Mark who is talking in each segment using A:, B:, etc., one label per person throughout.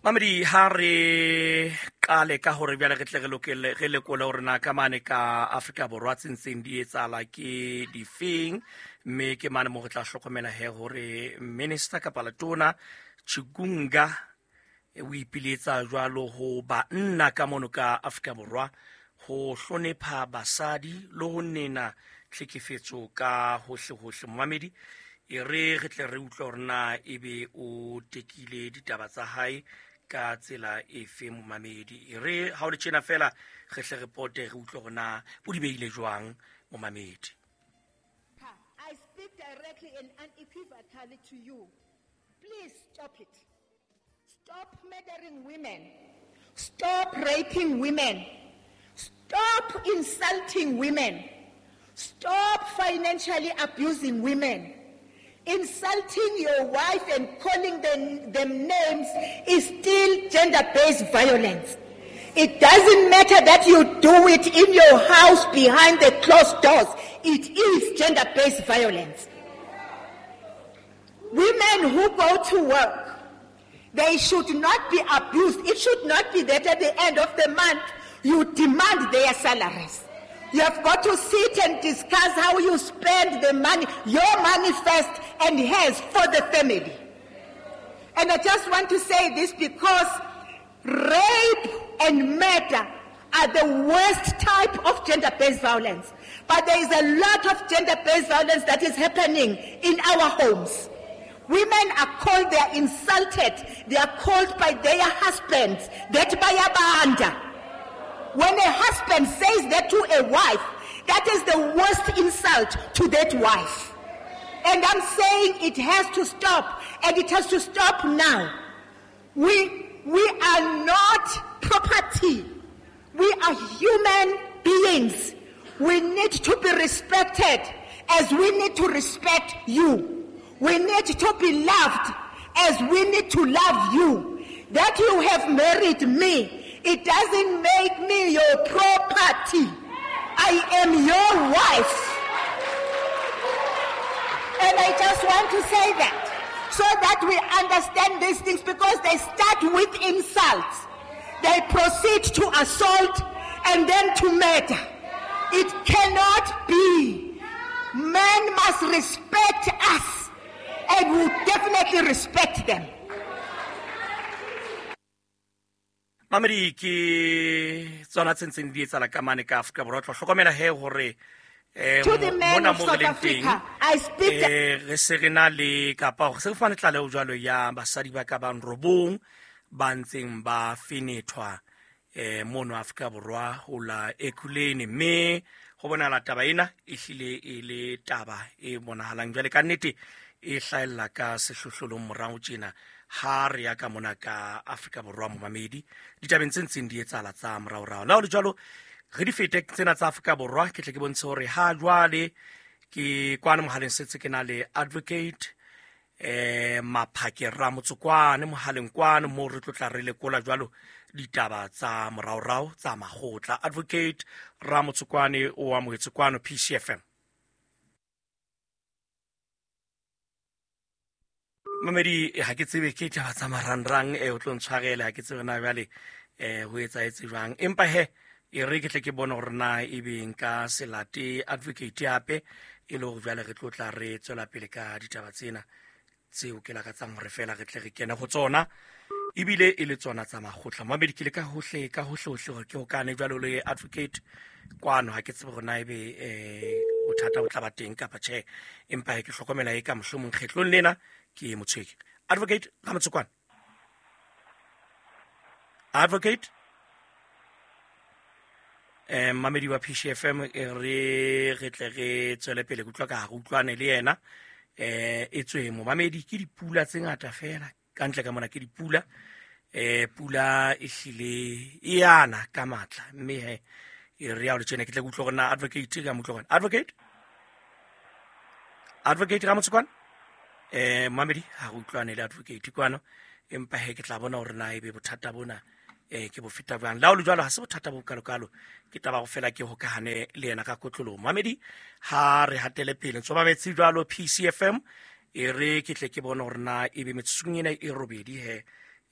A: Mamedi, ha re qale ka hore bjale re tle re lokele re lekole hore na ka mane ka Afrika Borwa tse ntseng di etsahala ke difeng, mme ke mane mo re tla hlokomela he hore minister kapa letona Chikunga o ipiletsa jwalo ho banna ka mono ka Afrika Borwa ho hlonepha basadi le ho nena tlhekefetso ka hohle-hohle. Momamedi, e re re tle re utlwe hore na ebe o tekile ditaba tsa hae ka tsela efe. Momamedi, e re ha o le tjena fela re hle re pote re utlwe hore na o di behile jwang. Momamedi,
B: I speak directly and unequivocally to you. Please stop it. Stop murdering women. Stop raping women. Stop insulting women. Stop financially abusing women. Insulting your wife and calling them names is still gender-based violence. It doesn't matter that you do it in your house behind the closed doors. It is gender-based violence. Women who go to work, they should not be abused. It should not be that at the end of the month, you demand their salaries. You have got to sit and discuss how you spend the money, your money first and hers for the family. And I just want to say this because rape and murder are the worst type of gender-based violence. But there is a lot of gender-based violence that is happening in our homes. Women are called, they are insulted, they are called by their husbands, that bayabanda. When a husband says that to a wife, that is the worst insult to that wife. And I'm saying it has to stop, and it has to stop now. We are not property. We are human beings. We need to be respected as we need to respect you. We need to be loved as we need to love you. That you have married me, it doesn't make me your property. I am your wife. And I just want to say that so that we understand these things, because they start with insults. They proceed to assault and then to murder. It cannot be. Men must respect us, and we definitely respect them.
A: Mamedi, ke tsona tse ntseng di etsahala ka mane ka Afrika Borwa. Tlo hlokomela he hore
B: To the men
A: mona
B: of
A: mo re
B: South
A: leng teng,
B: Africa, I speak
A: re se re na le kapa hore se re fumane tlaleho jwalo ya basadi ba ka bang robong ba ntseng ba fenethwa mono Afrika Borwa ho la Ekurhuleni, mme ho bonahala taba ena e hlile e le taba e bonahalang jwale ka nnete e hlahella ka sehlohlolong morao tjena ha re ya ka mona ka Afrika Borwa. Momamedi, ditabeng tse ntseng di etsahala tsa moraorao. Le ha ho le jwalo, re di fete tsena tsa Afrika Borwa, ke tle ke bontshe hore ha jwale ke kwana mohaleng setse ke na le advocate Maphake Ramotsokwane mohaleng kwano moo re tlo tla re lekola jwalo ditaba tsa moraorao tsa makgotla. Advocate Ramotsokwane o amohetse kwano PCFM. Mamedi, ha ke tsebe ke taba tsa marangrang o tlo ntshwarele, ha ke tsebe na jwale ho etsahetse jwang, empa he e re ke tle ke bone hore na ebe nka se late advocate hape e le hore jwale re tlo tla re tswela pele ka ditaba tsena tseo ke lakatsang hore fela re tle re kene ho tsona, ebile e le tsona tsa makgotla. Mamedi, ke le ka hohle ka hohle hohle hore ke hokane jwalo le advocate kwano, ha ke tsebe hore na ebe bothata bo tla ba teng kapa tjhe, empa he ke hlokomela e ka mohlomong kgetlong lena ke motshweki. Advocate Ramotsokwane, advocate mamedi wa PCFM, e re tle re tswele pele ke utlwa ka ha re utlwane le yena. E tswe momamedi ke dipula tse ngata fela ka ntle ka mona, ke dipula pula e hlile e yana ka matla, mme he e re ya o le tjena ke tle ke utlwe hore na advocate ka mo utlwe hore advocate Ramotsokwane mamedi ha re utlwane le advocate kwano, empa he ke tla bona hore na ebe bothata bona ke bo feta jwang. Le ha ho le jwalo, ha se bothata bo kalokalo, ke taba ho fela ke hokahane le yena ka kotloloho. Mamedi, ha re hatele pele ntso mametse jwalo PCFM, e re ke tle ke bone hore na ebe metsotsong ena e robedi he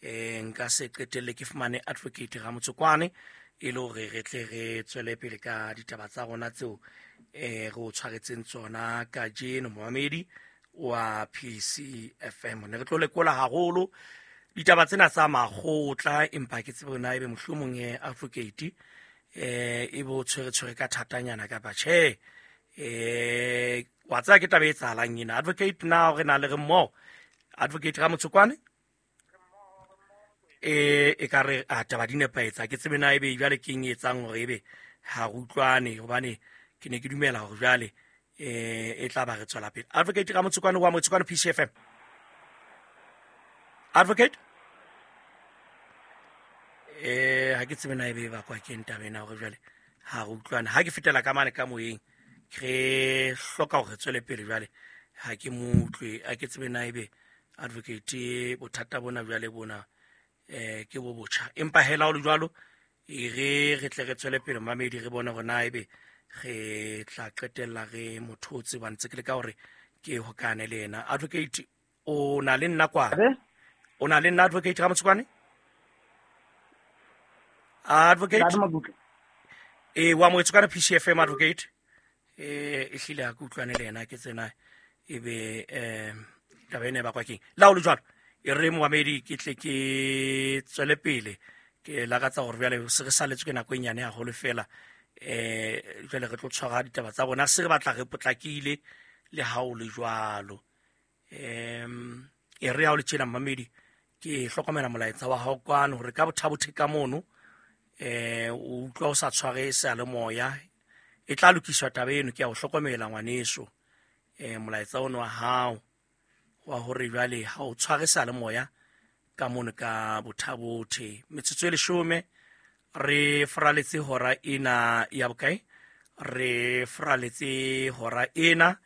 A: Nka se qetelle ke fumane Advocate Ramotsokwane e le hore re tle re tswele pele ka ditaba tsa rona tseo re o tshwaretseng tsona kajeno. Momamedi wa PCFM, ne re tlo lekola haholo ditaba tsena tsa makgotla, empa ke tsebe na ebe mohlomong advocate e bo tshwere ka thatanyana kapa tjhe. Wa tseba ke taba e etsahalang ena. Advocate, na re na le re mmoho? Advocate Ramotsokwane, e ka re a taba di nepahetse, ke tsebe na ebe jwale ke eng e etsang hore ebe ha re utlwane, hobane ke ne ke dumela hore jwale e tla ba re tswela pele. Advocate Ramotsokwane wa Motsokwane PCFM. Advocate, ha ke tsebe na ebe e bakwa ke eng taba ena hore jwale ha re utlwane. Ha ke fetela ka mane ka moyeng, re hloka hore re tswele pele jwale, ha ke mo utlwe. Ha ke tsebe na ebe advocate bothata bona jwale bona ke bo botjha, empa hela ho le jwalo e re tle re tswele pele mamedi, re bone hore na ebe re tla qetella re mothotse ba ntse ke le ka hore ke hokane le yena. Advocate, o na le nna kwana? O na le nna, Advocate Ramotsokwane? Advocate wa Motsokwane PCFM. Advocate, e hlile ha ke utlwane le yena, ke tsena ebe taba ena e bakwa keng. La ho le jwalo e re momamedi ke tle ke tswele pele, ke lakatsa hore jwale se re saletswe ke nako e nyane haholo fela. Jwale re tlo tshwara ditaba tsa rona, se re batla re potlakile le ha o le jwalo. E re ha o le tjena mamedi, ke hlokomela molaetsa wa hao kwano hore ka bothabothe ka mono o utlwa o sa tshware seyalemoya, e tla lokiswa taba eno. Ke a o hlokomela ngwaneso, molaetsa ono wa hao wa hore jwale ha o tshware seyalemoya ka mono ka bothabothe. Metsotso e 10 re foraletse hora ena ya bokae? Re foraletse hora ena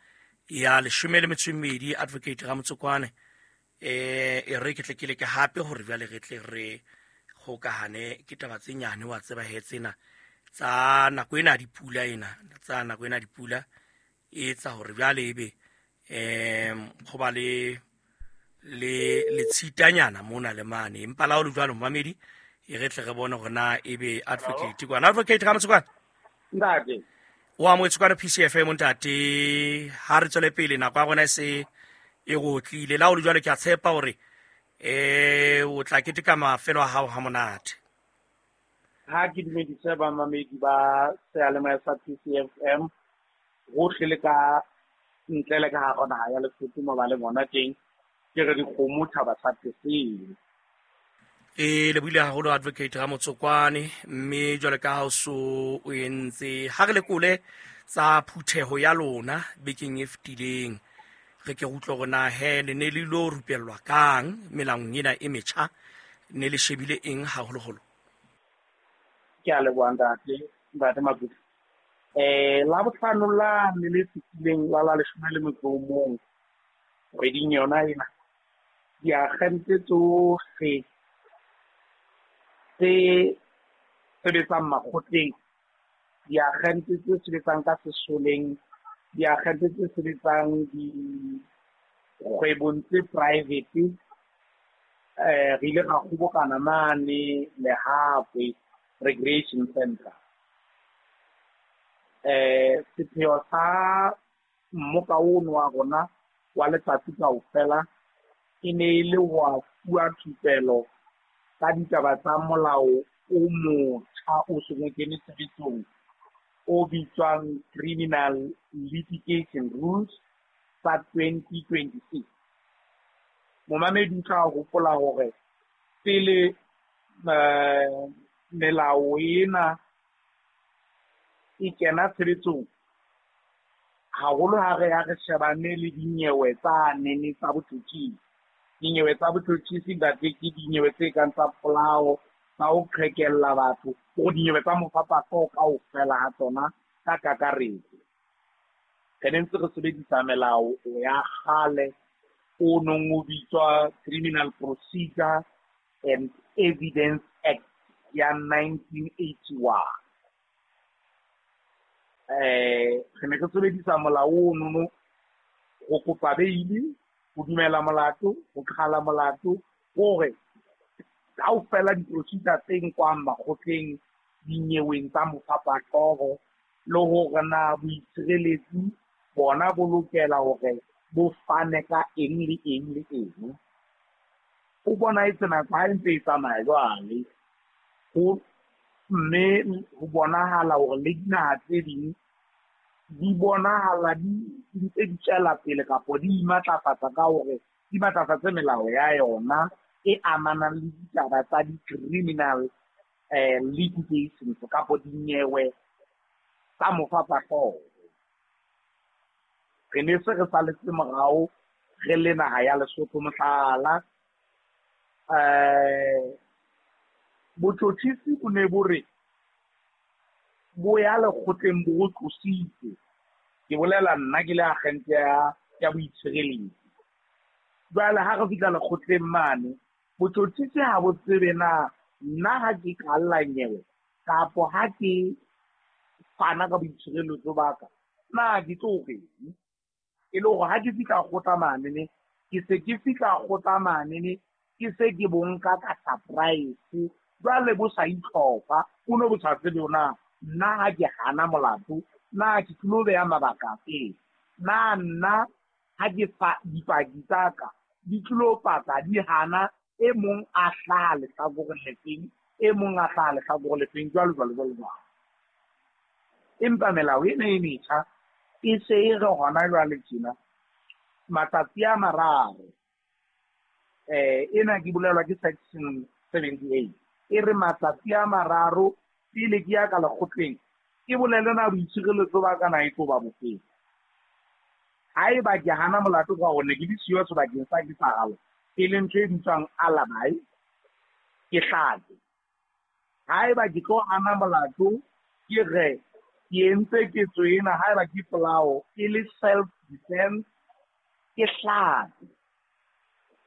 A: ya 12. Advocate Ramotsokwane, e re ke tle ke leke hape hore jwale re tle re hokahane. Ke taba tse nyane wa tseba he tsena tsa nako ena dipula, ena tsa nako ena dipula e etsa hore jwale ebe ho ba le letshitanyana mona le mane. Empa la ho le jwalo mamedi, e re tle re bone hore na ebe Advocate kwana. Advocate Ramotsokwane,
C: ntate
A: wa Motsokwane PCFM, ntate, ha re tswele pele, nako ya rona e se e rotlile. La ho le jwalo ke a tshepa hore o tla keteka mafelo a hao ha monate.
C: Ha ke dumedise bamamedi ba seyalemoya sa PCFM hohle le ka ntle le ka hara naha ya Lesotho mo ba le bona teng, ke re dikgomo thaba sa Tesele.
A: E lebohile haholo Advocate Ramotsokwane, mme jwale ka ha o so o entse, ha re lekole tsa phutheho ya lona bekeng e fetileng, re ke utlwe hore na he le ne le ilo rupellwa kang melaong ena e metjha, ne le shebile eng haholoholo?
C: Ke a leboha ntate Makutu. La bohlano la ne le fetileng la 11 kgweding yona ena, diakgente tsohle tse sebetsang makgotleng, diakgente tse sebetsang ka sesoleng, diakgente tse sebetsang dikgwebong tse private, re ile ra kgobokana mane Lehakwe Recreation Center. Sepheo sa mmoka ono wa rona wa letsatsi kaofela e ne e le wa fuwa thupelo ka ditaba tsa molao o motjha o seng o kene tshebetsong o bitswang Criminal Litigation Rules tsa 2026. Momamedi o tla hopola hore pele melao ena e kena tshebetsong, haholo ha re ya re shebane le dinyewe tsa nene tsa botjhotjhisi. Dinyewe tsa botjhotjhisi ntate ke dinyewe tse kang tsa polao, tsa ho qhekella batho, hore dinyewe tsa mofapahloho kaofela ha tsona ka kakaretso. Re ne ntse re sebedisa melao ya kgale o nong o bitswa Criminal Procedure and Evidence Act ya 1981. Re ne re sebedisa molao ono ho kopa beili, ho dumela molato, ho qhala molato, hore Kaofela di-procedure tse nkwang makgotleng dinyeweng tsa mofapahlooho, le hore na boitshireletsi bona bo lokela hore bo fane ka eng le eng le eng. O bonahetse nako ha e ntse e tsamaya jwale, ho mme ho bonahala hore le dinaha tse ding di bonahala di ntse di tswela pele kapo di imatlafatsa ka hore di matlafatse melao ya yona e amanang le ditaba tsa di-criminal litigations kapo dinyewe tsa mofapahlooho. Re ne se re saletse morao re le naha ya Lesotho. Mohlala, botjhotjhisi bo ne bo re bo ya lekgotleng bo re tlositse. Ke bolela nna ke le agente ya boitshireletsi. Jwale ha re fihla lekgotleng mane, botjhotjhisi ha bo tsebe na nna ha ke kalla nyewe kapo ha ke fana ka boitshireletso ba ka, na ke tlo reng? E le hore ha ke fihla kgotla manene, ke se ke fihla kgotla manene, ke se ke bo nka ka surprise. Jwale bo sa itlhopha, o no bo sa tsebe na nna ha ke hana molato, na ke tlilo beha mabaka afe? Na nna ha ke fa dipaki tsa ka di tlilo paka di hana, e mong a hlaha lehlakoreng lefeng, e mong a hlaha lehlakoreng lefeng, jwalo jwalo jwalo jwalo. Empa melao ena e metjha e se e re hona jwale tjena matsatsi a mararo, ena ke bolelwa ke section 78, e re matsatsi a mararo pele ke ya ka lekgotleng ke bolele na boitshireletso ba ka na e tlo ba bofeng. Haeba ke hana molato ka hore ne ke le siyo sebakeng sa ketsahalo, e leng ntho e bitswang alibi, ke hlake. Haeba ke tlo hana molato, ke re ke entse ketso ena, haeba ke polao e le self defense, ke hlake.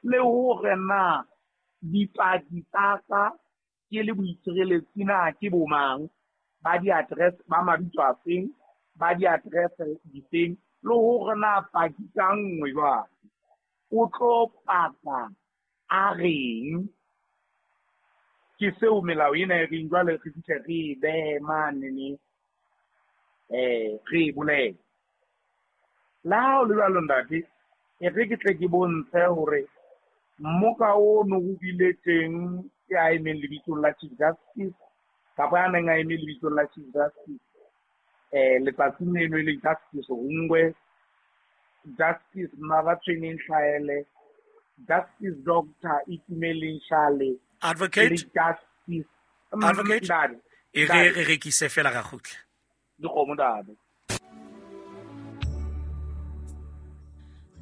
C: Le hore na dipaki tsa ka ke le boitshireletsi na ke bo mang, ba di-address, ba mabitso a feng, ba di-address difeng, le hore na paki ka nngwe jwale o tlo paka a reng. Ke seo melao ena e reng jwale re fihle re e behe manene, re e bolele. Le ha ho le jwalo ntate, e re ke tle ke bontshe hore mmoka ono o bile teng ya emeng lebitsong la Chief Justice, kapa ya neng a eme lebitsong la Chief Justice, letsatsing leno e leng Justice Hungwe, Justice Mabatshweneng Hlaele, Justice Doctor Itumeleng Shale,
A: Advocate,
C: le Justice
A: Advocate,
C: Ntate,
A: e re re rekise fela ra kgutla.
C: Dikgomo ntate.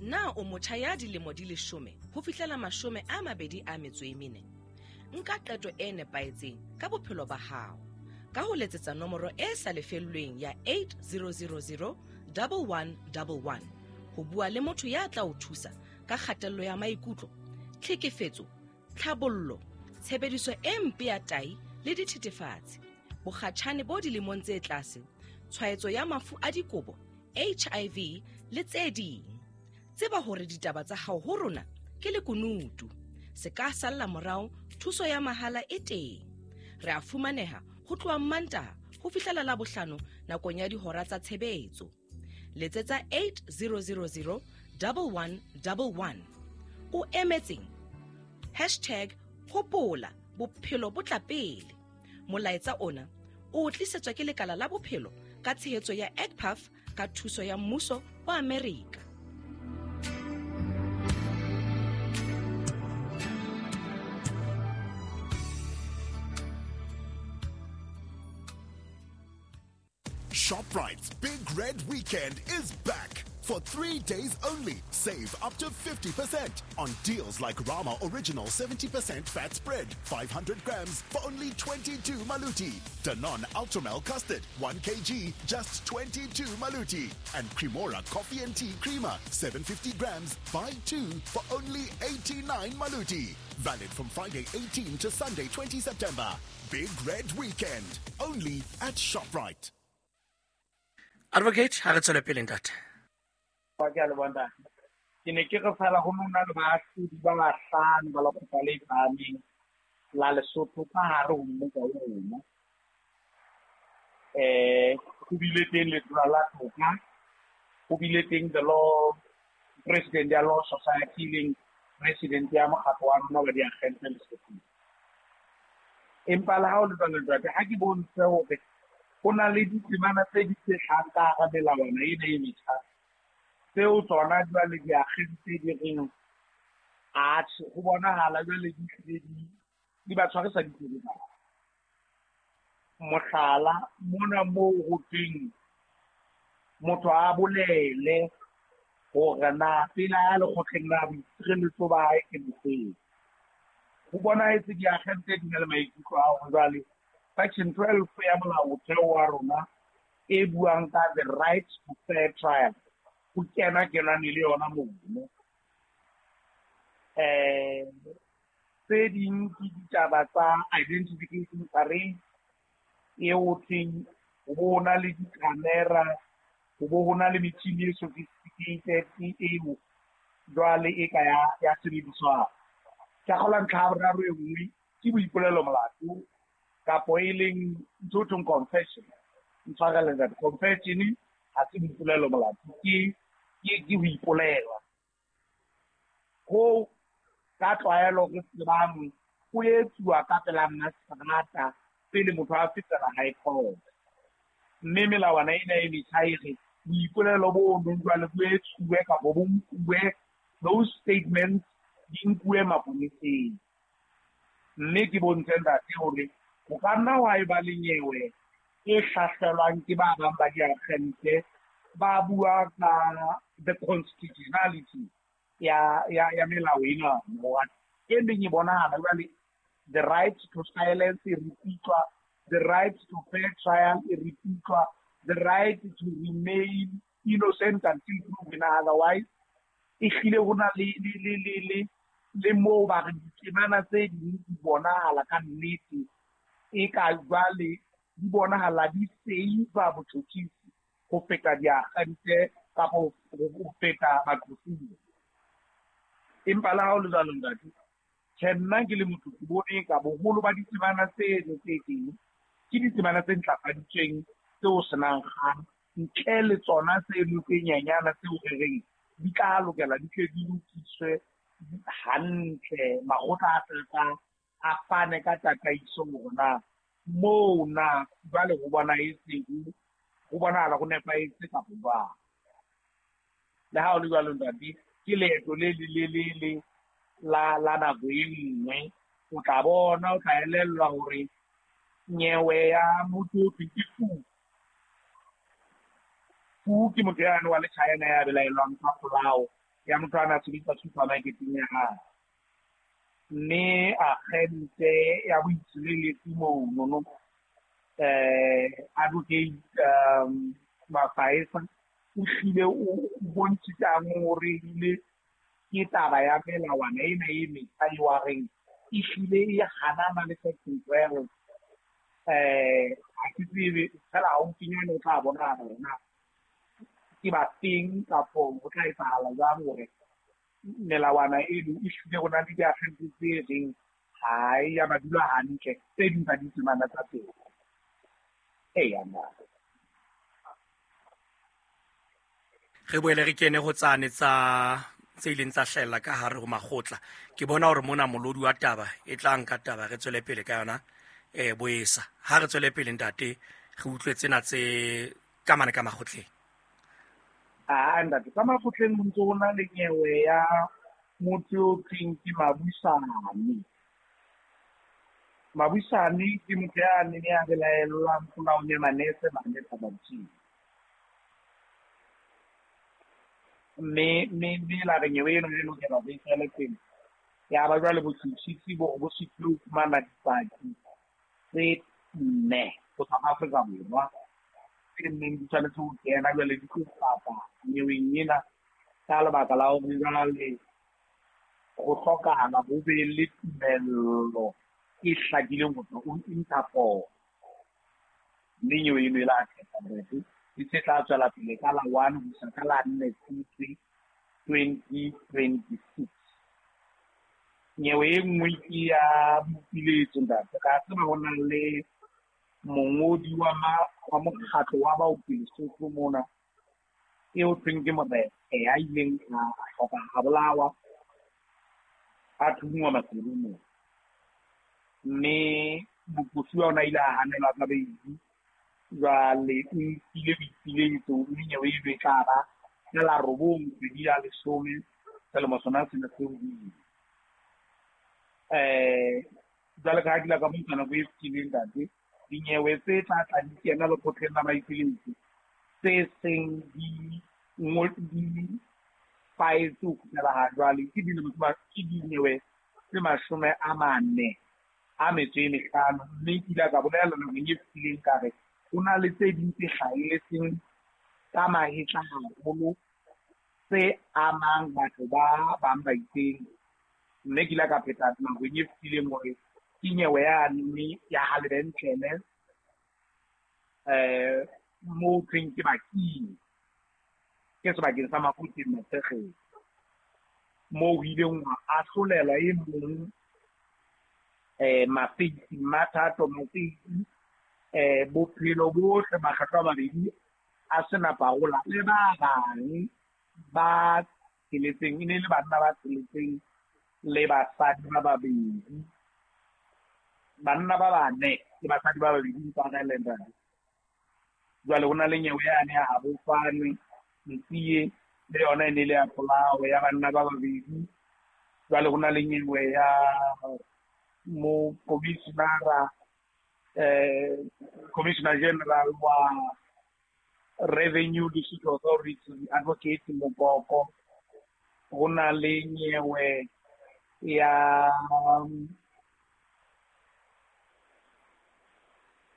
D: Na o motjha ya dilemo di 10 ho fihlela 24? Nka qeto e nepahetseng ka bophelo ba hao ka ho letsetsa nomoro e sa lefellweng ya 8000 1111 ho bua le motho ya tla o thusa ka kgatello ya maikutlo, tlhekefetso, tlhabollo, tshebediso e mpe ya tai le dithethefatsi, bokgatjhane bo dilemong tse tlase, tshwaetso ya mafu a dikobo, HIV le tse ding. Tseba hore ditaba tsa hao ho rona ke lekunutu. Se ka salla morao, thuso ya mahala e teng. Re a fumaneha ho tloha Mantaha ho fihlela Labohlano nakong ya dihora tsa tshebetso. Letsetsa 8000 1111. O emetseng? Hashtag hopola bophelo bo tla pele. Molaetsa ona o tlisetswa ke lekala la bophelo ka tshehetso ya EGPAF ka thuso ya mmuso wa Amerika.
E: ShopRite's Big Red Weekend is back. For 3 days only, save up to 50% on deals like Rama Original 70% fat spread, 500 grams for only 22 maluti. Danone Ultramel Custard, 1 kg, just 22 maluti. And Cremora Coffee and Tea Creamer, 750 grams, buy 2 for only 89 maluti. Valid from Friday 18 to Sunday 20 September. Big Red Weekend, only at ShopRite.
A: Advocate, ha re tswele pele ntate.
C: Ke a leboha ntate. Ke ne ke re fela ho nna le baahlodi ba bahlano ba lekgotla le phahameng la Lesotho ka hare ho mmuso wa rona. Ho bile teng Letona la Toka, ho bile teng the law president ya Law Society, leng president ya mokgatlo wa rona wa diakgente Lesothong. Empa le ha o le jwalo, ntate, ha ke bontshe hore ho na le ditemana tse di hlahang ka hara melawana ena e metjha, tseo tsona jwale diakgente di reng atjhe, ho bonahala jwale di hlile di ba tshwarisa ditsebe. Mohlala, mona moo ho thweng motho a bolele hore na pele a lekgotleng la boitshireletso ba hae ke bofeng. Ho bonahetse diakgente di na le maikutlo a hore jwale section 12 ya molaotheo wa rona e buang ka the right to fair trial ho kena kenane le yona mono. Tse ding ke ditaba tsa identification parade eo thweng ho bo na le di-camera, ho bo ho na le metjhini e sophisticated eo jwale e ka ya sebediswang. Ka kgolwa ntlha ya boraro e nngwe ke boipolelo molato kapo e leng ntho e thweng confession. Ntshwarele ntate, confession ha se boipolelo molato, ke ho ipolela. Ho ka tlwaelo re tsebang ho etsuwa ka pela mmaseterata pele motho a fetela high court. Mme melawana ena e metjha e re boipolelo bo nong jwale bo etsuwe kapo bo nkuwe, those statements di nkuwe maponeseng. Mme ke bontshe ntate hore ho ka nna wa eba le nyewe e hlahlelwang ke ba bang ba diakgente ba bua ka the constitutionality ya melao ena. E meng e bonahala jwale the right to silence e repeatwa, the right to fair trial e repeatwa, the right to remain innocent until proven otherwise. E hlile ho na le moo ba re ditemana tse ding di bonahala ka nnete e ka jwale di bonahala di save botjhotjhisi ho feta diakgente kapa ho feta baqosuwa. Empa le ha ho le jwalo ntate, tjhe, nna ke le motho ke bone ka boholo ba ditemana tseno tse teng ke ditemana tse ntlafaditsweng tseo senang kgang, ntle le tsona tseno tse nyenyana tseo re reng di tla lokela di tle di lokiswe hantle, makgotla a tla a fane ka tataiso hore na moo na jwale ho bonahetseng, ho bonahala ho nepahetse kapa jwang. Le ha ho le jwalo ntate, ke leeto le lelelele la nako e nngwe. O tla bona, o tla elellwa hore nyewe ya motho o thweng ke Fu. Fu ke motho yane wa le China ya belaellwang ka polao ya motho a na sebetsa supermarketeng ya hae. Mme agente ya boitshireletsi monono, Advocate Mafaesa, o hlile o bontshitse a ngongoreile ke taba ya melawana ena e metjha eo a reng e hlile e hanana le section 12. Ha ke tsebe fela haufinyane o tla bona hore na ke ba teng kapo ho tla etsahala jwang hore melawana eno e hlile ho na le diakgente tse reng ha e ya ba dula hantle tse ding tsa ditemana tsa teng. Eya ntate.
A: Re boele re kene ho tsane tsa tse ileng tsa hlahella ka hare ho makgotla. Ke bona hore mona molodi wa taba e tla nka taba re tswele pele ka yona boesa. Ha re tswele pele ntate, re utlwe tsena tse ka mane ka makgotleng.
C: Ah, ntate, ka makgotleng ho ntse ho na le nyewe ya motho o thweng ke Mabusane. Mabusane ke motho ya neng ya belaellwang polaong ya manese mane Thabamosing. Mme la re nyewe eno e lokela hore e tswele pele. Ya ba jwale botjhutjhisi bo sitilwe ho fumana dipaki tse nne ho tswa Afrika Borwa tse neng di tshwanetse ho kena jwale di tlo paka nyeweng ena ka lebaka la hore jwale ho hlokahala ho be le tumello e hlakileng ho tswa ho Interpol. Mme nyewe eno e la kgetha ntate, e se tla tswela pele ka la 1 ho isa ka la 4 Tshitwe 2026. Nyewe e nngwe ke ya boipiletso ntate. Ka tseba ho na le mongodi wa mokgatlo wa baoki Lesotho mona eo thweng ke Morena ya ileng a hloka a bolawa a thunngwa Maseru mona. Mme moqosuwa ona ile a hanelwa ka beili. Jwale o nkile boipiletso mme nyewe eno e tla ba ka la 9 kgwedi ya 10 selemo sona sena seo buile. Jwale ka ha ke ile ka bontsha nako e fetileng ntate, dinyewe tse tla tla di kena lekgotleng la maipiletso tse seng di faetse ho fihlela ha jwale ke dinyewe tse 45. Mme ke ile ka bolela nakong e fetileng ka re ho na le tse ding tse hlahelletseng ka mahetla haholo tse amang batho ba bang ba itseng. Mme ke ile ka pheta nakong e fetileng hore ke nyewe yane ya ha lebentlele moo thweng ke Baking, ke sebakeng sa Mafuteng Matshegetso, moo ho ileng hwa ahlolelwa e mong Mafeisi Mathato Mafeisi bophelo bohle makgetlo a mabedi a sena parola le ba bang ba tsheletseng, e ne le banna ba tsheletseng le basadi ba babedi, banna ba bane le basadi ba babedi ntshwarele ntate. Jwale ho na le nyewe yane ya Habofane Ntsie, le yona e ne le ya polao ya banna ba babedi. Jwale ho na le nyewe ya mo commissioner Commissioner General wa Revenue District Authority Advocate Mokoko. Ho na le nyewe ya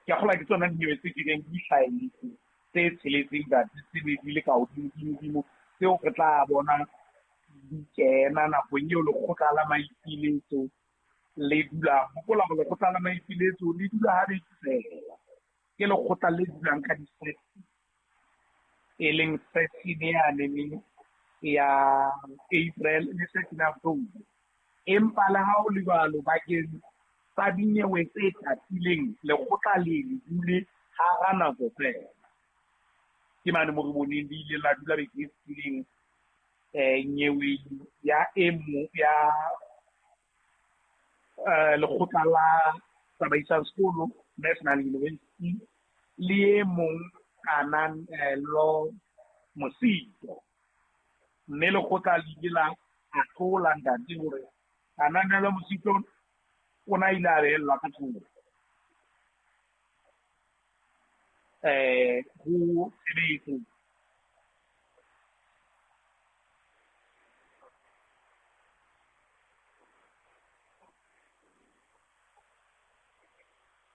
C: ke kgola ke tsona dinyewe tse ke reng di hlahelletse tse tsheletseng ntate, tse ne di le ka hodimo tseo re tla bona di kena nakong eo lekgotla la maipiletso le dulang. Hopola hore lekgotla la maipiletso le dula habedi feela, ke lekgotla le dulang ka di-session, e leng session yane ya April le session ya October. Empa le ha ho le jwalo, bakeng tsa dinyewe tse tatileng lekgotla le dule hara nako feela. Ke mane mo re boneng le ile la dula beke e fetileng nyeweng ya e mong ya lekgotla la tsamaisang sekolo National University le e mong Kananelo Mosito. Mme lekgotla le ile la ahlola ntate hore Kananelo Mosito o na ile a behellwa ka thoko ho tshebetso.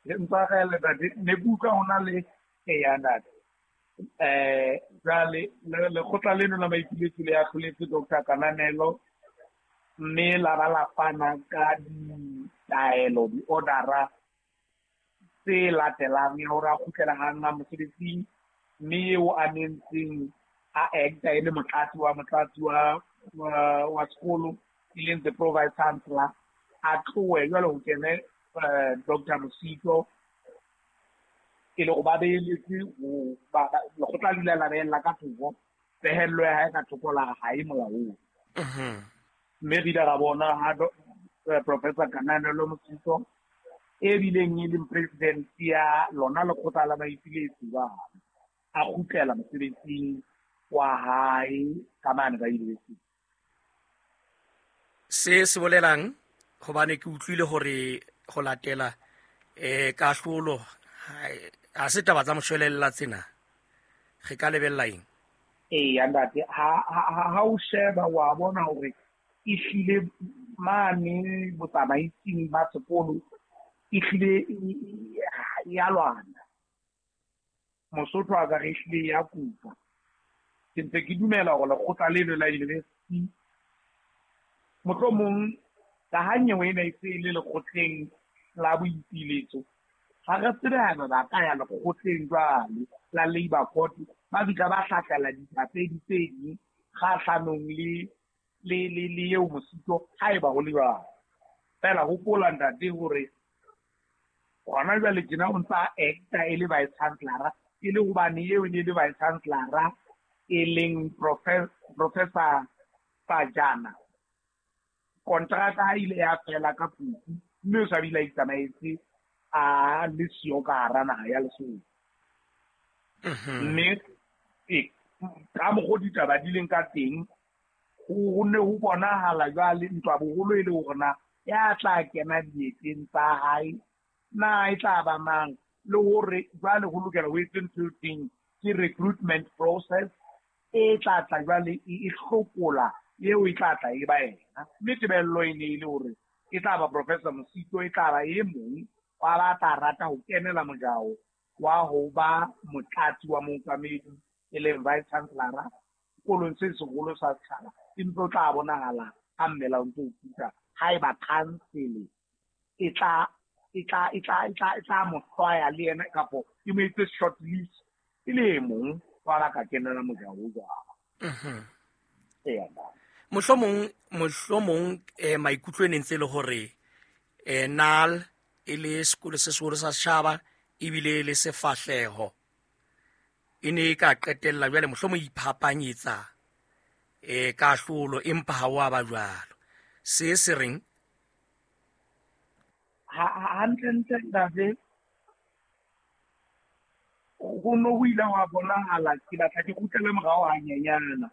C: Ntshwarele ntate, ne ke utlwa ho na le eya ntate. Jwale lekgotla leno la maipiletso le ahloletse Dr. Kananelo mme la ba la fana ka ditaelo, di-order-a tse latelang ya hore a kgutlela hang mosebetsing, mme eo a nentseng a acta e le motlatsi wa sekolo e leng the pro vice chancellor a tlohe jwale ho kene Dr. Mosito e le hore ba beheletse lekgotla le ile la behella ka thoko pehello ya hae ka thoko la ha e molaong. Mme re ile ra bona ha Professor Kananelo Mosito e bileng e leng president ya lona lekgotla la maipiletso ba a kgutlela mosebetsing wa hae ka mane ka university.
A: Se se bolelang hobane ke utlwile hore ho latela kahlolo ha se taba tsa moshwelella tsena, re ka lebella eng?
C: Eya ntate, ha o sheba wa bona hore ehlile mane botsamaising ba sekolo ehlile ya lwana. Mosotho a ka re ehlile ya kupa. Ke ntse ke dumela hore lekgotla leno la university mohlomong ka ha nyewe ena e se e le lekgotleng la boipiletso, ha re tsebe haeba ba ka ya lekgotleng jwale la Labour Court ba fihla ba hlahlela dipapedi tse ding kgahlanong le eo Mosito haeba ho le jwalo. Fela hopola ntate hore hona jwale tjena o ntsa acta e le vice chancellor, e le hobane eo e ne le vice chancellor e leng Professor Sajana. Kontraka ha ile ya fela ka Phupu, mme o sa bile a itsamaetse a le siyo ka hara naha ya Lesotho. Mme ka mokgo ditaba di leng ka teng, ho ne ho bonahala jwale ntwa boholo e le hore na ya tla kena dieteng tsa hae na e tla ba mang, le hore jwale ho lokela ho etswe ntho e teng ke recruitment process e tla tla jwale e hlokola eo e tla tla e ba yena. Mme tebello e ne e le hore e tla ba Professor Mosito, e tla ba e mong wa ba tla rata ho kenela mojao wa ho ba motlatsi wa mookamedi e leng vice chancellor sekolong se seholo sa setjhaba, empa o tla bonahala ha mmela o ntso o puta haeba council e tla mo hlwaya le yena kapo e mo etse short list e le e mong wa ba ka kenela mojao o jwalo.
A: Mohlomong maikutlo e ne ntse le hore NAL e le sekolo se seholo sa setjhaba ebile le sefahleho e ne e ka qetella jwale mohlomong iphapanyetsa kahlolo, empa ha wa ba jwalo. Se se reng
C: hantlentle ntate, ho no ho ile hwa bonahala, ke batla ke kgutlele morao hanyenyana.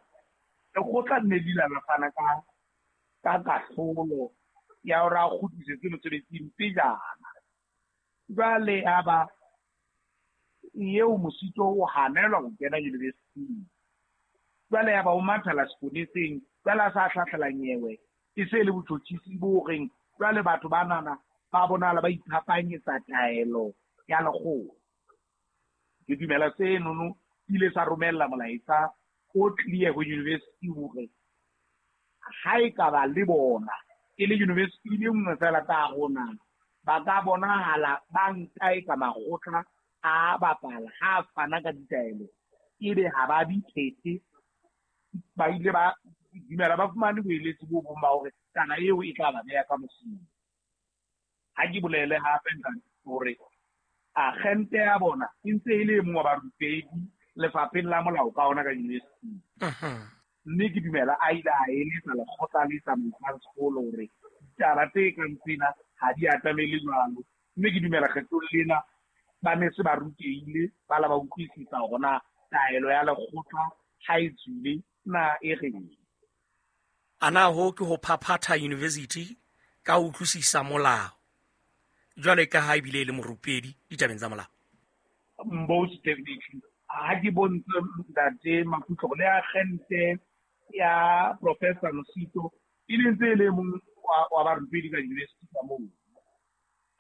C: Lekgotla nne le ile la fana ka kahlolo ya hore a kgutlisetswe mosebetsing pejana. Jwale ya ba eo Mosito o hanelwa ho kena university. Jwale ya ba o mathela seponeseng, jwale a sa hlahlela nyewe e se le botjhotjhisi bo reng jwale batho ba nana ba bonahala ba iphapanyetsa taelo ya lekgotla. Ke dumela senono ile sa romella molaetsa o clear ho university hore ha e ka ba le bona e le university le nngwe fela ka rona, ba ka bonahala ba nka e ka makgotla a bapala ha fana ka ditaelo, ebe ha ba di phethe. Ba ile ba dumela ba fumane boeletsi bo bong ba hore taba eo e tla ba beha ka mosing. Ha ke bolele hape ntate hore agente ya bona e ntse e le e mong wa barupedi lefapheng la molao ka ona ka university. Mme ke dumela a ile a eletsa lekgotla le tsamaisang sekolo hore ditaba tse kang tsena ha di atamele jwalo. Mme ke dumela kgetlong lena ba ne se ba rutehile, ba la ba utlwisisa hore na taelo ya lekgotla ha e tswile na e reng.
A: Ana ho ke ho phaphatha university ka ho utlwisisa molao jwale ka ha ebile e le morupedi ditabeng tsa molao?
C: Most definitely. Ha ke bontshe ntate Makhutlo le agente ya Professor Mosito e le ntse e le mong wa barupedi ka university ka moo.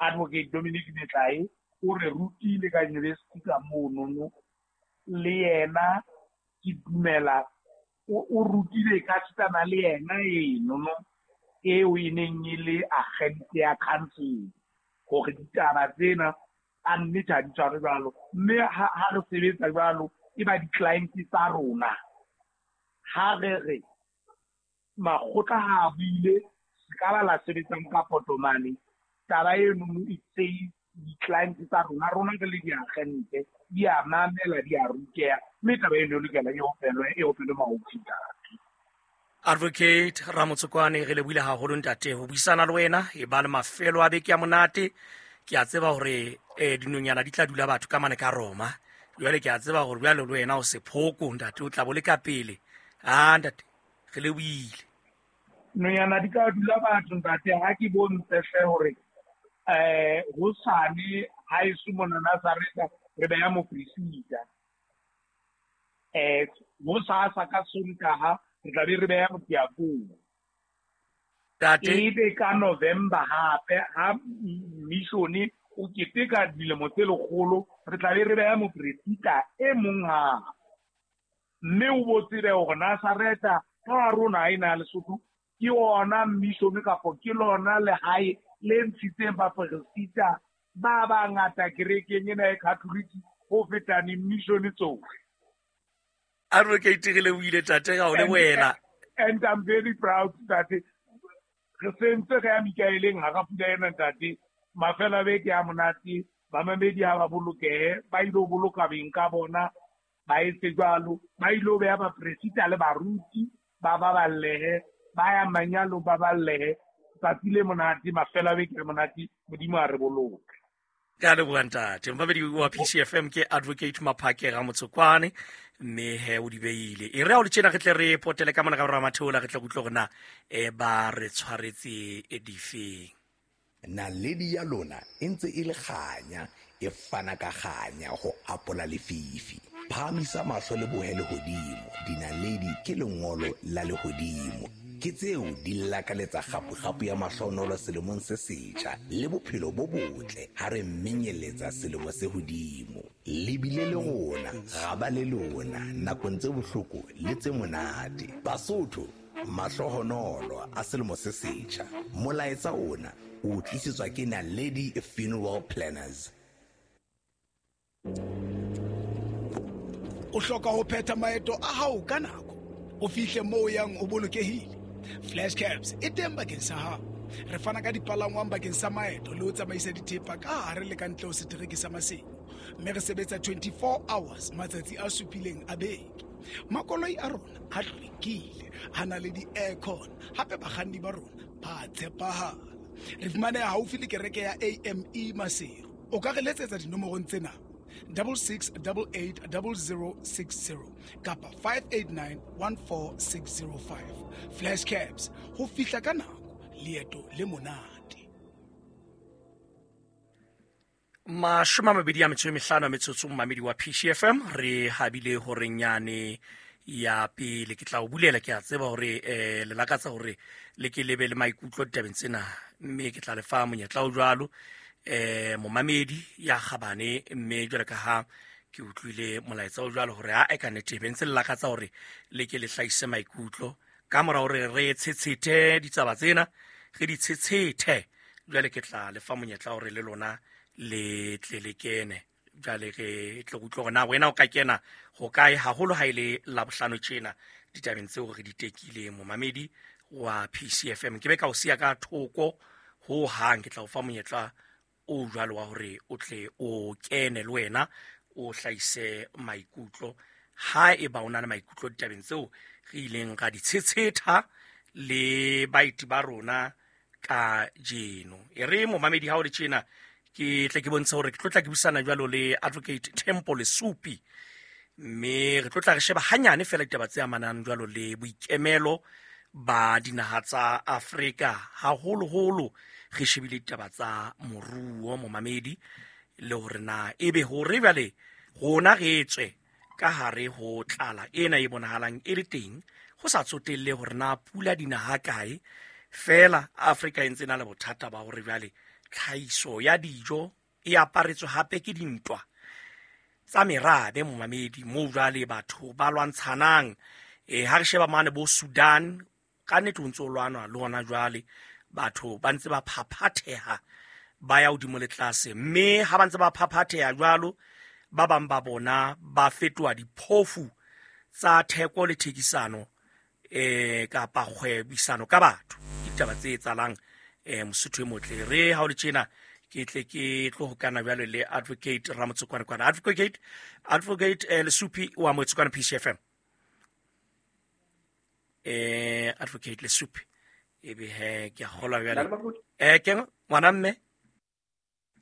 C: Advocate Dominic Metlae o re rutile ka university ka monono, le yena ke dumela o rutile ka sitana le yena enono eo e neng e le agente ya council hore ditaba tsena a nnete ha di tshware jwalo. Mme ha re sebetsa jwalo e ba di-client tsa rona. Ha re re makgotla ha a buile se ka ba la sebetsang ka potomane, taba eno e tse di-client tsa rona, rona re le diagente di a mamela, di a ruteha, mme taba eno e lokela e opelwe maofi ntate.
A: Advocate Ramotsokwane, re lebohile haholo ntate ho buisana le wena. E ba le mafelo a beke ya monate. Ke a tseba hore dinonyana di tla dula batho ka mane ka Roma. Jwale ke a tseba hore jwale le wena o sephoko ntate, o tla bo le ka pele. Ah ntate, re lebohile.
C: Nonyana di ka dula batho ntate, ha ke bontshe hle hore hosane ha eso mona Nazareta re beha mopresita. Hosasa ka Sontaha re tla be re beha modiakone. Ebe ka November hape ha mission o keteka dilemo tse lekgolo, re tla be re beha mopresita e mong hape. Mme o bo tsebe hore Nazareta ka rona e na Lesotho ke ona mission kapo ke lona lehae le ntshitseng bapresita ba bangata kerekeng ena e Catholic ho feta di-mission tsohle.
A: Advocate, re lebohile tate ga o le wena.
C: And I'm very proud that Re sentse re ya Mikaeleng hara pula ena ntate. Mafelo a beke a monate, bamamedi ha ba bolokehe, ba ilo boloka beng ka bona, ba etse jwalo, ba ilo beha bapresita le baruti, ba baballehe, ba ya manyalo ba ballehe. Tsatsi le monate, mafelo a beke a monate, Modimo a re boloke.
A: Ka leboha ntate. Momamedi wa PCFM ke Advocate Maphake ga Motsokwane, mme he o di beile. E re ha o le tjena re tle re potele ka mona ka bora matheola, re tle re utlwe hore na ba re tshwaretse difeng.
F: Naledi ya lona e ntse e le kganya, e fana ka kganya ho apola lefifi. Phahamisa mahlo le bohe lehodimo, dinaledi ke lengolo la lehodimo. Ke tseo di lakaletsa kgapu-kgapu ya mahlohonolo selemong se setjha le bophelo bo botle ha re menyeletsa selemo se hodimo. Le bile le rona, ra ba le lona nakong tse bohloko le tse monate. Basotho, mahlohonolo a selemo se setjha. Molaetsa ona o tlisetswa ke Naledi Funeral Planners.
G: O hloka ho phetha maeto a hao ka nako, o fihle moo o yang o bolokehile. Flash Cabs e teng bakeng sa hao. Re fana ka dipalangwang bakeng sa maeto le ho tsamaisa dithepa ka hare le ka ntle ho setereke sa Maseru, mme re sebetsa 24 hours matsatsi a supileng a beke. Makoloi a rona a hlwekile, a na le di-aircon, hape bakganni ba rona ba tshepahala. Re fumaneha haufi le kereke ya AME Maseru. O ka re letsetsa dinomorong tsena: 66 88 00 60 kapa 589 14605. Flash Cabs, ho fihla ka nako, leeto le monate.
A: 25 metsotso momamedi wa PCFM, re habile horeng yane ya pele. Ke tla o bulela, ke a tseba hore le lakatsa hore le ke lebe le maikutlo ditabeng tsena, mme ke tla le fa monyetla o jwalo momamedi ya kgabane. Mme jwale ka ha ke utlwile molaetsa o jwalo hore ha e ka nnete be ntse le lakatsa hore le ke le hlahise maikutlo ka mora hore re tshetshete ditaba tsena, re di tshetshete. Jwale ke tla le fa monyetla hore le lona le tle le kene. Jwale re tle re utlwe hore na wena o ka kena ho kae, haholo ha e le Labohlano tjena ditabeng tseo re di tekileng. Momamedi wa PCFM, ke be ka o siya ka thoko ho hang, ke tla o fa monyetla o jwalo wa hore o tle o kene le wena o hlahise maikutlo, ha eba o na le maikutlo ditabeng tseo re ileng ra di tshetshetha le baeti ba rona ka jeno. E re momamedi ha o le tjena, ke tle ke bontshe hore ke tlo tla ke buisana jwalo le Advocate Tempo Lesupi, mme re tlo tla re sheba hanyane fela ditaba tse amanang jwalo le boikemelo ba dinaha tsa Afrika, haholoholo re shebile ditaba tsa moruo momamedi, le hore na ebe hore jwale rona re tswe ka hare ho tlala ena e bonahalang e le teng, ho sa tsotelle hore na pula dinaha kae, fela Afrika e ntse e na le bothata ba hore jwale tlhahiso ya dijo e aparetswe hape ke dintwa tsa merabe momamedi, moo jwale batho ba lwantshanang. Ha re sheba mane bo Sudan, ka nnete ho ntse ho lwanwa le hona jwale, batho ba ntse ba phaphatheha ba ya hodimo le tlase, mme ha ba ntse ba phaphatheha jwalo, ba bang ba bona ba fetoha diphofu tsa theko le thekisano kapa kgwebisano ka batho. Ke ditaba tse etsahalang Mosotho e motle. Re ha o le tjena ke tle ke tlo hokana jwalo le Advocate Ramotsokwane kwana. Advocate Lesupi wa Motsokwane PCFM. Advocate Lesupi ebe he ke a kgolwa jwale. Ke ngwana mme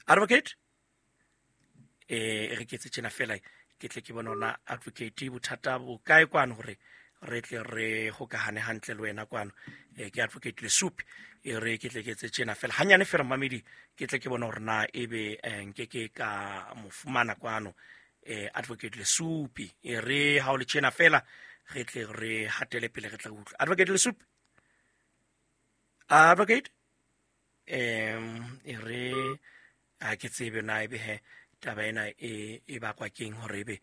A: Advocate re ke etse tjena fela, ke tle ke bone hore Advocate bothata bo kae kwano hore re tle re hokahane hantle le wena kwano. Ke Advocate Lesupi, e re ke tle ke etse tjena fela hanyane fela mamedi, ke tle ke bone hore na ebe nke ke ka mo fumana kwano Advocate Lesupi. E re ha o le tjena fela re tle re hatele pele, re tle re utlwe Advocate Lesupi. Advocate e re ha ke tsebe na ebe he taba ena e bakwa keng hore ebe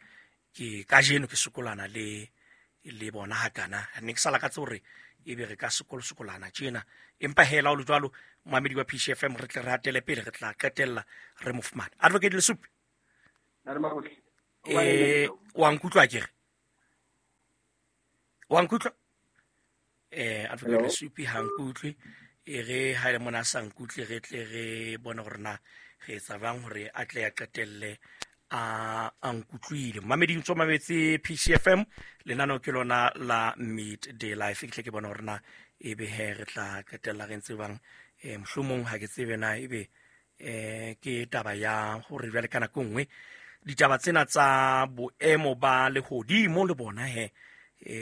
A: ke kajeno ke sokolana le bona hakana. Ne ke sa lakatse hore ebe re ka sokolosokolana tjena, empa hela o le jwalo momamedi wa PCFM, re tle re hatele pele, re tla qetella re mo fumane. Advocate Lesupi, wa nkutlwa akere? Wa nkutlwa? Advocate Lesupi ha nkutlwe. E re ha ile mona sa nkutle re tle re bone hore na re etsa jwang hore a tle a qetelle a nkutlwile. Mamedi ntso mametse PCFM, lenaneo ke lona la Midday Life. Ke tle ke bone hore na ebe he re tla qetella re ntse bang, mohlomong ha ke tsebe na ebe ke taba ya hore jwale ka nako nngwe ditaba tsena tsa boemo ba lehodimo le bona he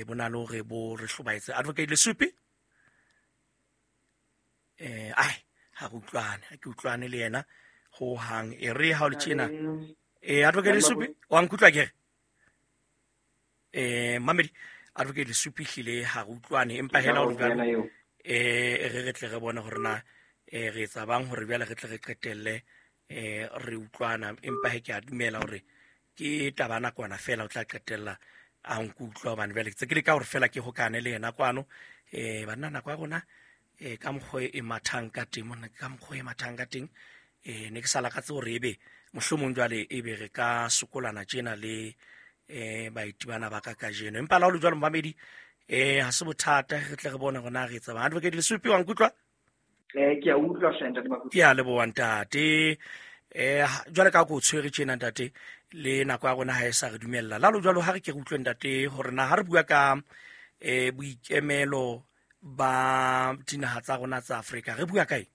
A: bo na le hore bo re hlobaetse. Advocate Lesupi, ai ha re utlwane, ha ke utlwane le yena ho hang. E re ha o le tjena, Advocate Lesupi wa nkutlwa ke re mamedi Advocate Lesupi hlile ha re utlwane, empa hela o jwalo re tle re bone hore na re etsa bang hore jwale re tle re qetelle re utlwana. Empa he ke a dumela hore ke taba nakwana fela o tla qetella a nkutlwa, hobane jwale ke tse ke leka hore fela ke hokane le yena kwano. Banna nako ya rona ka mokgwa e mathang ka teng mona, ka mokgwa e mathang ka teng, ne ke sa lakatse hore ebe mohlomong jwale ebe re ka sokolana tjena le baeti bana ba ka kajeno. Empa la ho le jwalo momamedi, ha se bothata, re tle re bone hore na re etsa bang. Advocate Lesupi wa nkutlwa?
H: Ke a utlwa hle ntate Makutu.
A: Ke a leboha ntate. Jwale ka ko tshwere tjena ntate, le nako ya rona ha e sa re dumella. La lo jwalo ha re ke re utlwe ntate hore na ha re bua ka boikemelo ba dinaha tsa rona tsa Afrika, re bua kae?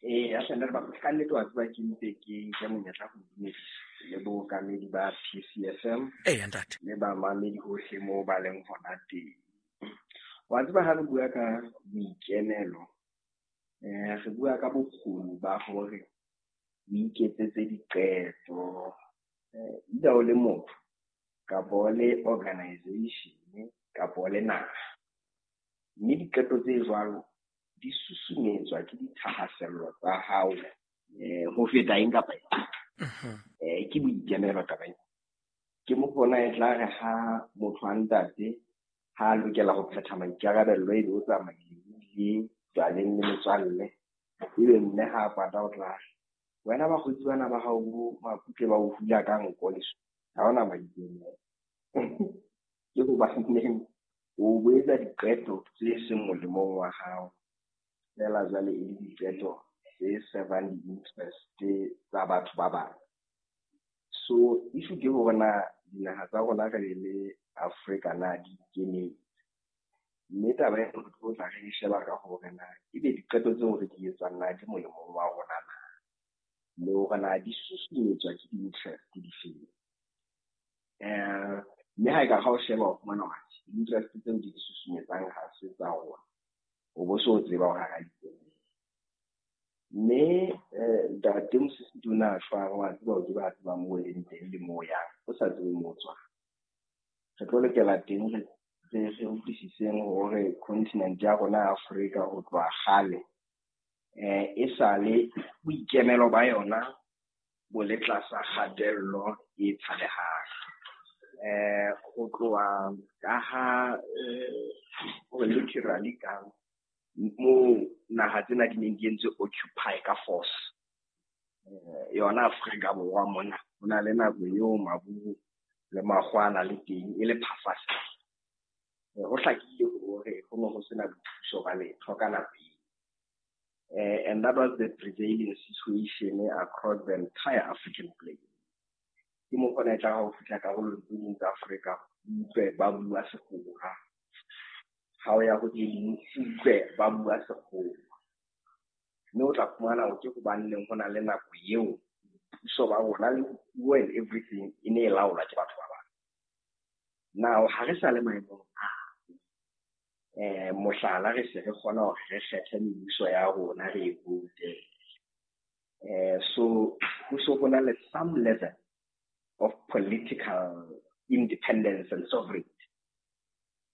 H: Ya hle ntate Makutu, ka nnete wa tseba ke ntse ke nke monyetla ho dumedisa le bookamedi ba PCFM.
A: Ntate.
H: Le bamamedi hohle moo ba leng hona teng. Wa tseba ha re bua ka boikemelo, re bua ka bokgoni ba hore o iketsetse diqeto, either o le motho kapa o le organization kapa o le naha. Mme diqeto tse jwalo di susumetswa ke dithahasello tsa hao ho feta eng kapa eng. Ke boikemelo taba ena. Ke mo bona e tla re ha motho a ntate ha a lokela ho phetha maikarabello ebe o tsamaile le jwaleng le metswalle, ebe mme ha a kwata o tla wena bakgotsi bana ba hao bo Makutle ba o hula ka nko leso, ha hona maikemelo. Ke hobaneng o bo etsa diqeto tse seng molemong wa hao, fela jwale e le diqeto tse servang di-interest tsa batho ba bang. So issue ke hore na dinaha tsa rona re le Afrika na di ikemetse, mme taba ena re tlo tla re e sheba ka hore na ebe diqeto tseo re di etsang na di molemong wa rona na, le hore na di susumetswa ke di-interest difeng. Mme ha e ka ha o sheba o fumana hore di-interest tseo di susumetsang ha se tsa rona, o bo so tseba hore ha di ikemetse. Mme ntate Mosisi o ne a shwa, wa tseba o ke ba tseba moo o leng teng le moo o yang, o sa tsebe moo o tswang. Re tlo lokela teng re utlwisiseng hore continent ya rona ya Afrika ho tloha kgale e sale boikemelo ba yona bo le tlasa kgatello e tshabehang. Ho tloha ka ha hore literally ka moo naha tsena di neng di entswe occupy ka force. Yona Afrika Borwa mona ho na le nako eo Maburu le Makgwana le teng e le phafasa. Ho hlakile hore ho ne ho sena boithuso ba letho ka nako eo. And that was the prevailing situation across the entire African plane. Ke mo kgona e tla ha o fihla karolong tse ding tsa Afrika, o utlwe ba bua Sekgowa. Ha o ya ho tse ding, o utlwe ba bua Sekgowa. Mme o tla fumana hore ke hobaneng ho na le nako eo puso ba rona le puo and everything e ne e laolwa ke batho ba bang. Now ha re sa le maemong a mohlala, re se re kgona hore re kgethe mebuso ya rona re e vote. So ho so ho na le some level of political independence and sovereignty,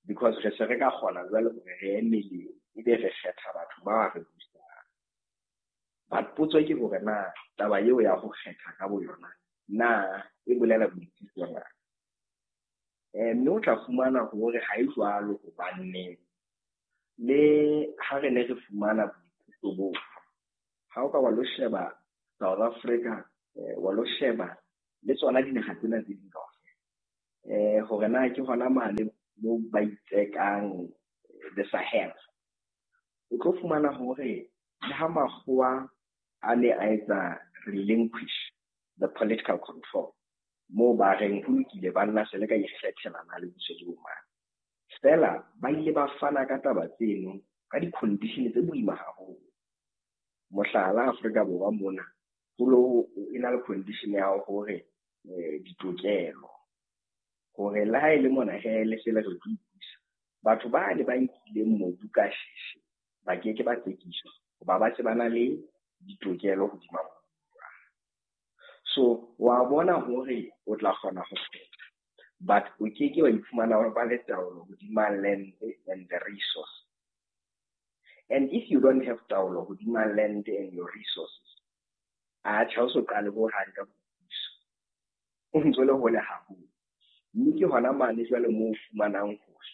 H: because re se re ka kgona jwale hore re ye meleng ebe re kgetha batho ba re busang. But potso ke hore na taba eo ya ho kgetha ka boyona na e bolela boitsebiso na? Mme o tla fumana hore ha e jwalo, hobane le ha re ne re fumana boitsebiso boo, ha o ka wa lo sheba South Africa, wa lo sheba le tsona dinaha tsena tse ding kaofela, hore na ke hona mane moo ba itsekang the Sahel. O tlo fumana hore le ha makgowa a ne a etsa relinquish the political control, moo ba reng ho lokile banna se le ka ikgethela na le puso ke bo mang. Fela ba ile ba fana ka taba tseno ka di-condition tse boima haholo. Mohlala, Afrika Borwa mona ho lo e na le condition ya hore ditokelo hore le ha e le mona he le se le re tlo ipusa, batho ba ne ba nkileng mobu ka sheshe ba keke ba tsekiswa hoba ba se ba na le ditokelo hodima mobu. So wa bona hore o tla kgona ho kgetha, but o keke wa iphumana o ba le taolo hodima land and the resource. And if you don't have taolo hodima land and your resources, atjhe, ha o so qale hohang ka boipuso, o ntso le hole haholo. Mme ke hona mane jwale moo o fumanang hore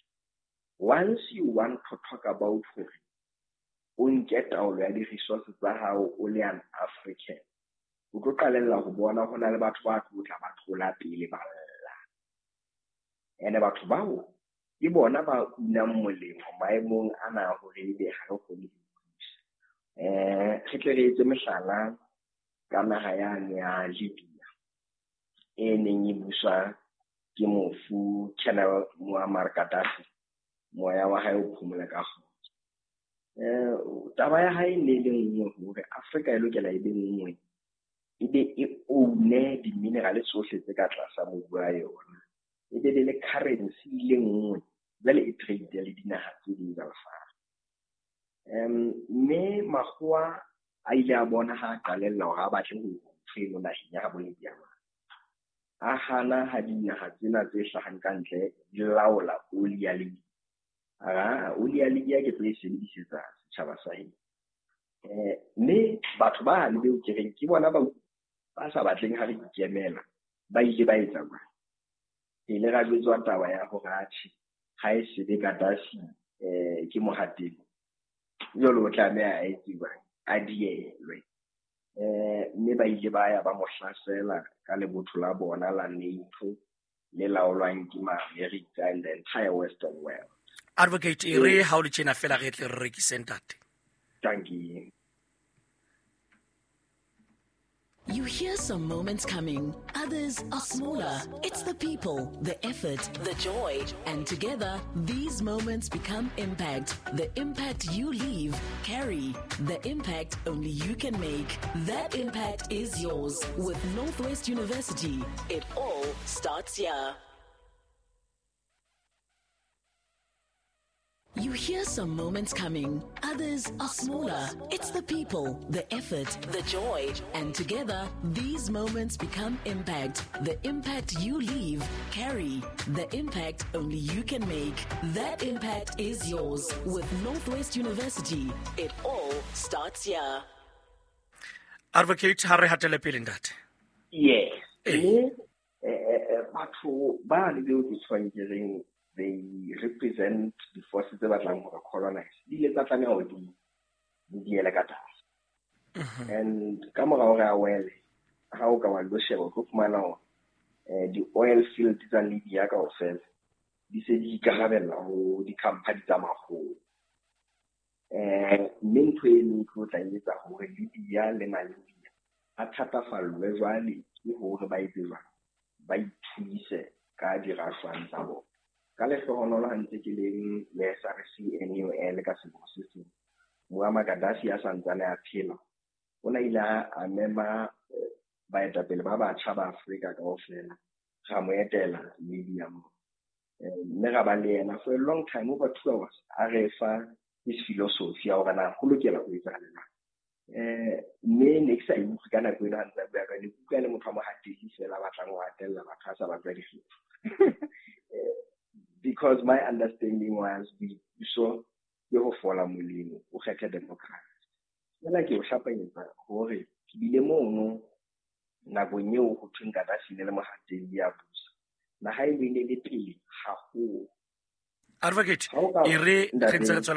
H: once you want to talk about hore o nke taolo ya di-resources tsa hao o le an African, o tlo qalella ho bona ho na le batho ba tlo tla ba tlola pele ba lla. Ene batho bao ke bona ba unang molemo maemong ana hore ebe ha re kgone ho ipusa. Re tle re etse mehlala ka naha yane ya Libya e neng e buswa ke mofu Colonel Muammar Gaddafi, moya wa hae o phomole ka kgotso. Taba ya hae ne le nngwe hore Afrika e lokela e be nngwe, e be e own-e di-mineral tsohle tse ka tlasa mobu wa yona, e be le currency le nngwe, jwale e trade le dinaha tse ding tsa lefatshe. Mme makgowa a ile a bona ha a qalella hore a batle ho ntho eno naheng ya habo Libya, a hana ha dinaha tsena tse hlahang ka ntle di laola oli ya Libya. A oli ya Libya ke tlo e sebedisetsa setjhaba sa heso. Mme batho ba le beo ke reng ke bona ba sa batleng ha re ikemela, ba ile ba etsa jwang? Re ile ra jwetswa taba ya hore atjhe, ha e se be Gaddafi ke mohatelli, jwale o tlameha a etse jwang? A dielwe. Mme ba ile ba ya ba mo hlasela ka lebotho la bona la NATO le laolwang ke ma-America and the entire Western world.
A: Advocate, e re ha o le tjena fela re tle re rekise ntate.
H: Thank you.
I: You hear some moments coming, others are smaller. It's the people, the effort, the joy. And together, these moments become impact. The impact you leave, carry. The impact only you can make. That impact is yours. With Northwest University, it all starts here. You hear some moments coming, others are smaller. It's the people, the effort, the joy. And together, these moments become impact. The impact you leave, carry. The impact only you can make. That impact is yours. With Northwest University, it all starts here.
A: Advocate, ha re hatele pele ntate.
H: Yes. Mme batho ba le beo ke tshwang ke reng they represent the forces tse batlang hore colonize, di ile tsa tlameha hore di diele ka tlase. And ka mora hore a wele, ha o ka wa lo sheba, o tlo fumana hore di-oil field tsa Libya kaofela di se di ikarabella ho di-company tsa makgowa. Mme ntho eno e tlo tla etsa hore Libya le Namibia a thatafallwe jwale ke hore ba etse jwang, ba ithuse ka dirashwang tsa bona. Ka lehlohonolo ha ntse ke leng le SRC NUL ka selemo se seng, Muammar Gaddafi a santsane a phela, o na ile a mema baetapele ba batjha ba Afrika kaofela, ra mo etela Libya moo. Mme ra ba le yena for a long time, over 2 hours, a re fa his philosophy ya hore na ho lokela ho etsahala jwang. Mme ne ke sa e utlwe ka nako eno ha ntse a bua ka yona, ke utlwa e le motho wa mohatelli fela a batlang ho hatella batho a sa ba tswa dikgetho. Because my understanding was boipuso ke ho fola molemo, o kgethe democracy. Fela ke o hlapanyetsa hore ke bile mono nakong eo ho thweng Gaddafi ne le mohatelli ya busa. Naha e ne le pele haholo.
A: Advocate,
H: Ha o ka
A: e re
H: ntate
A: re ntse re tswela